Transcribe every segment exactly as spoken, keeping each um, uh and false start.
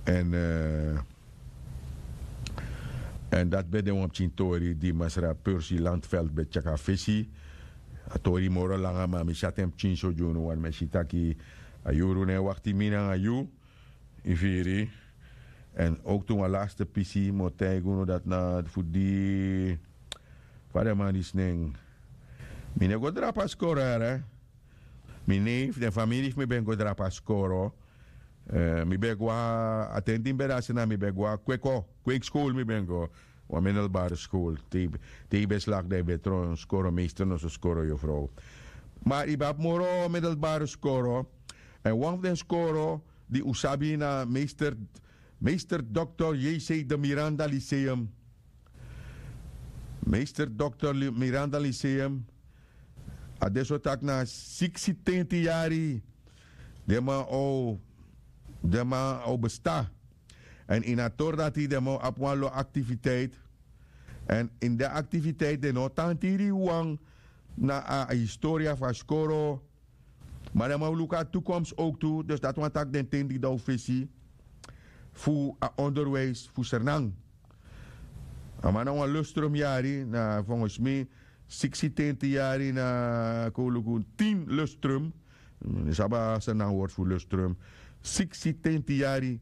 Èn èn dati ben de wan pikin tori di masra persi landveld ben tyari a fesi. A tori moro langa ma mi si ati en pikin so gi unu wani mi e si taki a yuru no e wakti mi nanga yu. Yu firi? Èn owktu wan laste pisi mi o taigi unu dati na fu di fa den man disi nen. Mi no e go drape a skoro here. Mi nei fu den famiri fu mi ben go drape a skoro. Mi ben go na a ten di mi ben de a sena mi ben go na kweko kweki skol mi ben go. Wan midelbare skol te yu ben slak dan yu ben tron skoro meister noso skoro yofrow. Ma yu ben abi moro midelbare skoro. Èn wan fu den skoro di un sabi na meister meister doktor jc de miranda lyceum. Meister doktor miranda lyceum. A de so tak' na siksi tenti yari den man o den man o besta. Èn ini a tori dati den man o abi wan lo aktiviteit. Èn ini den aktiviteit den no o tan tiri wan na a historia fu a skoro. Ma den man o luku a tukomsi owktu dus dati wani taki den ten di dan o fesi fu a onderwijs fu sernan. A man na wan lustrum yari na fongosmi siksi tenti yari na kon luku tin lustrum. Yu sabi a sernan wortu fu lustrum. Siksi tenti yari.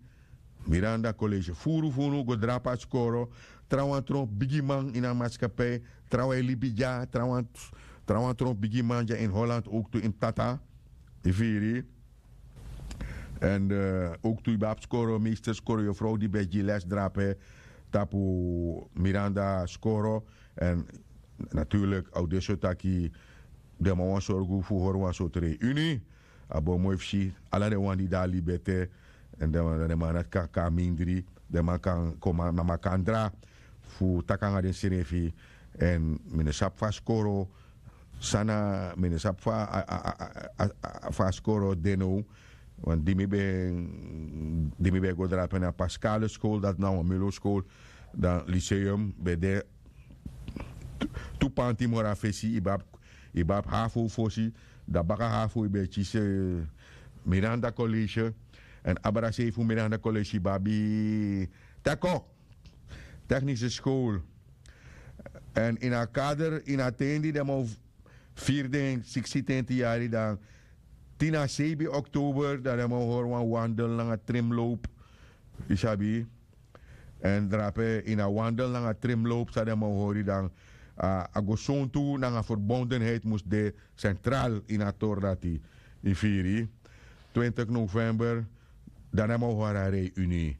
Miranda kolesi furu fu unu go drape a skoro. Trawan tron bigiman ini a maskapei. Trawan e libi dya trawan tron bigiman dya ini holland owktu ini tata. Yu firi? Èn owktu yu ben abi skoro meester skoro yofrow di ben e gi les drape tapu miranda skoro. Èn naturlik a o de so taki den man wani sorgu fu hori wan sortu reuni. A bo moi fu si ala den wan di de na libi ete. Èn den man nati kan kon na mindri. Den man kan kon na makandra fu taki nanga densrefi. Èn mi no sabi fu a skoro san na mi no sabi fu a skoro de now. Wan di mi ben di mi ben e go drape na paskale skol dati na wan melo skol. Dan liseum ben de tu panti moro na fesi yu ben abi hafu fosi. Dan baka hafu yu ben e kisi miranda kolesi. Èn abra sei fu miranda kolesi yu ben abi teko teknise skol. Èn ini a kader ini a ten di den man o firi den siksi tenti yari dan tin na seibin oktober dan den man o hori wan wandel nanga trimlowpu. Yu sabi? Èn drape ini a wandel nanga trimlowpu san den man o hori dan a gosontu nanga ferbondenheit mus de sentral ini a tori dati. Yu firi? Twintik november dan den man o hori a reuni.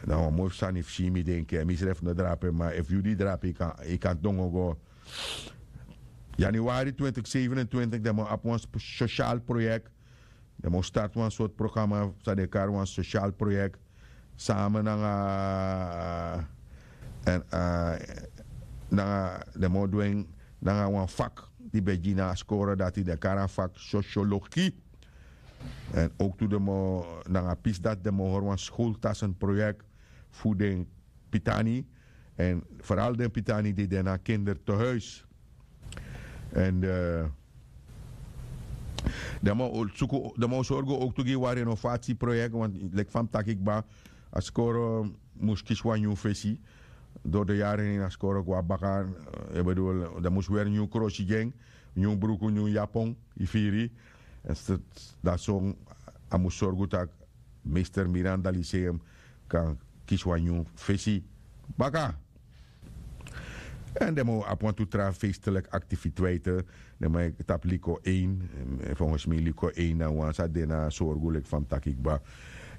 Na wan moi fu sani fu si mi denki èn misrefi no drape ma efu yu di drape yu kan dongo go. Januari twintik sevenentwintik den man o abi wan sosial proyek. Den man o starti wan sortu programa san den e kari wan sosial proyek. Sama nanga èn nanga den man o du en nanga wan fak di ben gi na a skoro dati den e kari a fak sosiologi. Èn owktu den man o nanga pisi dati den man o hori wan skoltasen proyek fu den pitani. Èn feral den pitani di de na kindertehuis. Èn den man o sorgu owktu gi wan renovatieproyek want leki fa mi taki kba a skoro mus kisi wan nyun fesi. Dori de yari ini a skoro go na baka. Den mus weri nyun krosi gi en nyun bruku nyun yapon. Yu firi? Èn dati so a mus sorgu tak' meester miranda liseum kan kisi wan nyun fesi baka. Èn den man o abi wantu tra feesteliki aktiviteite. Den man e tapu liko ein. Fongosmi liko ein na wan sa de na sorgu leki fa mi taki kba.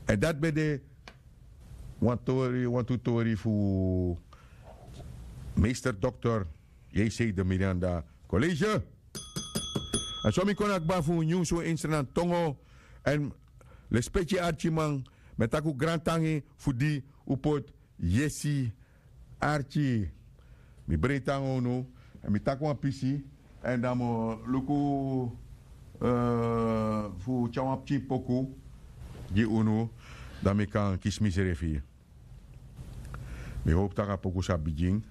Èn dati ben de wan tori wantu tori fu meester doktor jc de miranda kolesi. Èn so mi kon na kba fu nyunsu instrenantongo. Èn lespeki arkiman mi e taki un grantangi fu di un poti yesi arki. Mi breiti nanga unu èn mi taki wan pisi èn dan mi o luku fu tyari wan pikin poku gi unu. Dan mi kan kisi misrefi. Mi howpu tak' a poku sa bigin.